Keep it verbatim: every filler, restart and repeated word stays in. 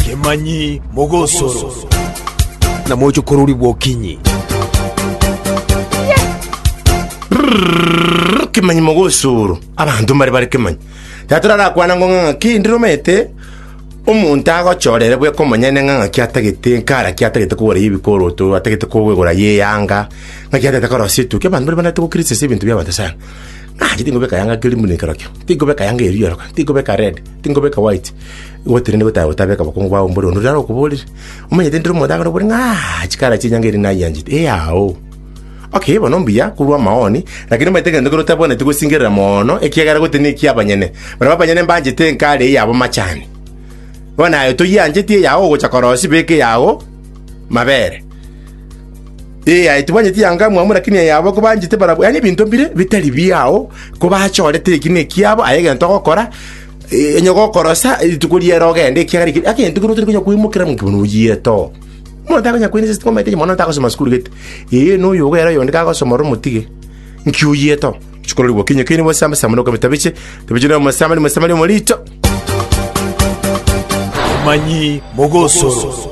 Kemanyi Mogosoro na mochokorori bwokinyi. Kemanyi mogosoro, abanto mbare bare kemanyi. Tatorarakwana ngo ng'a ng'aki ndire omanyete, omonto agochorere bweka omonyene ng'a ng'aki atagete nkara ki atagete kogora ya ebikoroto, atagete kogora ya eyanga, ng'aki atagete korosia etuki. Abanto mbare banarete gokritisise ebinto bia abanto sana. Ng'a tingobeka yanga keri buna ekerokio, tingobeka yanga eria eroka, tingobeka red, tingobeka white. Igo tirende gotaka gotabeka bokongu bwao mbore onde orakoborire. Omanyete ndire omonto akore ng'a chikara chia enyanga eri nayianchete, eyao. Okay, bono mbuya korwa amaoni, lakini omanyete egento kere otabwenereti gosingerera mono, ekiagera gose neki abanyene. Barabwo abanyene mbanchete enkare eye yabo machani. Bono aye toyiancheti eyao ogocha korosia beka eyao mabere. Ee, aye tibwancheti yanga mwamu lakini eyabo kobanchete barabwo, yaani ebinto mbire bitari biao, kobachorete eki na ekiabo, aye egento ogokora, eh, onye gokorosa rituko riere ogende ekiagera eki egento kere otari konya koimokera monki bono oyiete oo. Omonto akonya koinsist omanyete onye mono tagosoma sukuru gete, ee na oyo iga ere oyonde kagosoma ore omotige, nki oyiete oo. Chikororigwa okinye keini bosamba samba noka metabiche, tabiche na omosamari mosamari omorito. Kemanyi Mogosoro.